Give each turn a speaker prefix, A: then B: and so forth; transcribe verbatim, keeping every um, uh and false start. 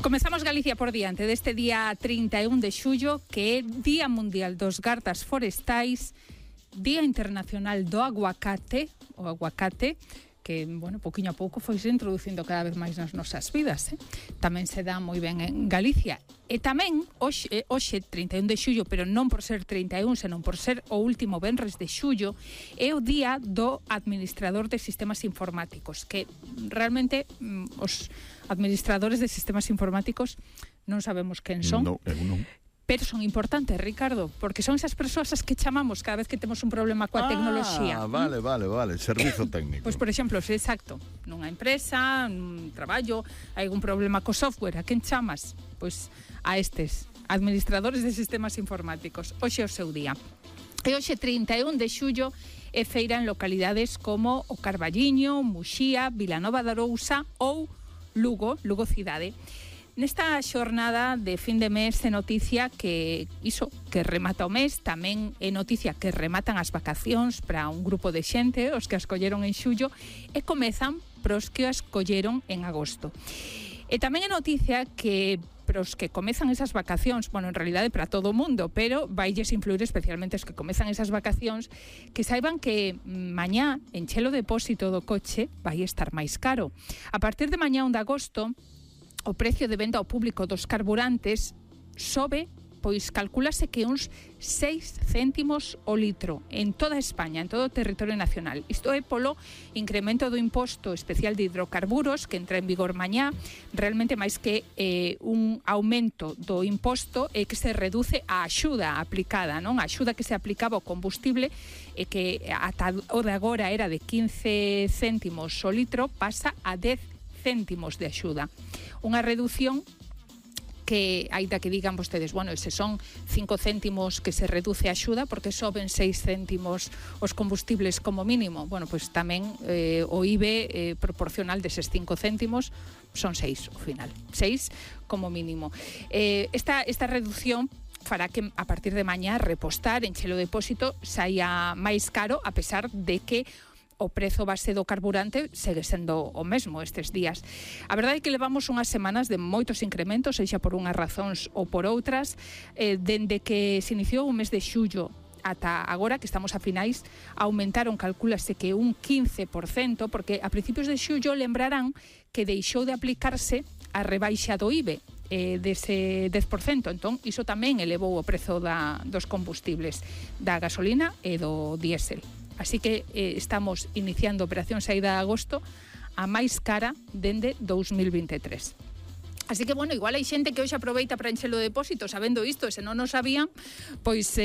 A: Comezamos Galicia por diante deste día trinta e un de xullo, que é Día Mundial dos Gardas Forestais, Día Internacional do Aguacate, o aguacate, que, bueno, pouquiño a pouco foi se introducindo cada vez máis nas nosas vidas, eh? Tamén se dá moi ben en Galicia. E tamén, hoxe, hoxe trinta e un de xullo, pero non por ser trinta e un, senón por ser o último venres de xullo, é o día do administrador de sistemas informáticos, que realmente mm, os administradores de sistemas informáticos non sabemos quen son.
B: No, eu non.
A: Pero son importantes, Ricardo, porque son esas persoas as que chamamos cada vez que temos un problema coa
B: ah,
A: tecnoloxía.
B: Ah, vale, vale, vale, servizo técnico.
A: Pois, por exemplo, se exacto, nunha empresa, nun traballo, hai algún problema co software, a quen chamas? Pois a estes administradores de sistemas informáticos. Hoxe é o seu día. E hoxe trinta e un de xullo é feira en localidades como o Carballiño, Muxía, Vilanova de Arousa ou Lugo, Lugo cidade. Nesta xornada de fin de mes é noticia que iso, que remata o mes, tamén é noticia que rematan as vacacións para un grupo de xente, os que as colleron en xullo, e comezan pros que as colleron en agosto. E tamén é noticia que pros que comezan esas vacacións, bueno, en realidade para todo o mundo, pero vailles influir especialmente os que comezan esas vacacións, que saiban que mañá encher o depósito do coche vai estar máis caro. A partir de mañá un de agosto, o precio de venda ao público dos carburantes sobe, pois calculase que uns seis céntimos o litro en toda España, en todo o territorio nacional. Isto é polo incremento do imposto especial de hidrocarburos que entra en vigor mañá, realmente máis que eh, un aumento do imposto é que se reduce a axuda aplicada, non? A axuda que se aplicaba ao combustible e que ata o de agora era de quince céntimos o litro, pasa a dez céntimos de axuda. Unha reducción que, aínda que digan vostedes, bueno, ese son cinco céntimos que se reduce a axuda porque soben seis céntimos os combustibles como mínimo. Bueno, pois pues tamén eh, o I B E eh, proporcional deses cinco céntimos son seis ao final. seis como mínimo. Eh, esta, esta reducción fará que a partir de mañá repostar, encher o depósito, saia máis caro, a pesar de que o prezo base do carburante segue sendo o mesmo estes días. A verdade é que levamos unhas semanas de moitos incrementos, sexa por unhas razóns ou por outras, eh, dende que se iniciou o mes de xullo ata agora, que estamos a finais, aumentaron, calculase que un quince por cento, porque a principios de xullo lembrarán que deixou de aplicarse a rebaixa do I B E, eh, dese dez por cento, entón iso tamén elevou o prezo da, dos combustibles, da gasolina e do diésel. Así que eh, estamos iniciando operación saída de agosto a máis cara dende dous mil vinte e tres. Así que, bueno, igual hai xente que hoxe aproveita para encher o depósito sabendo isto, e se non o sabían, pois... Eh,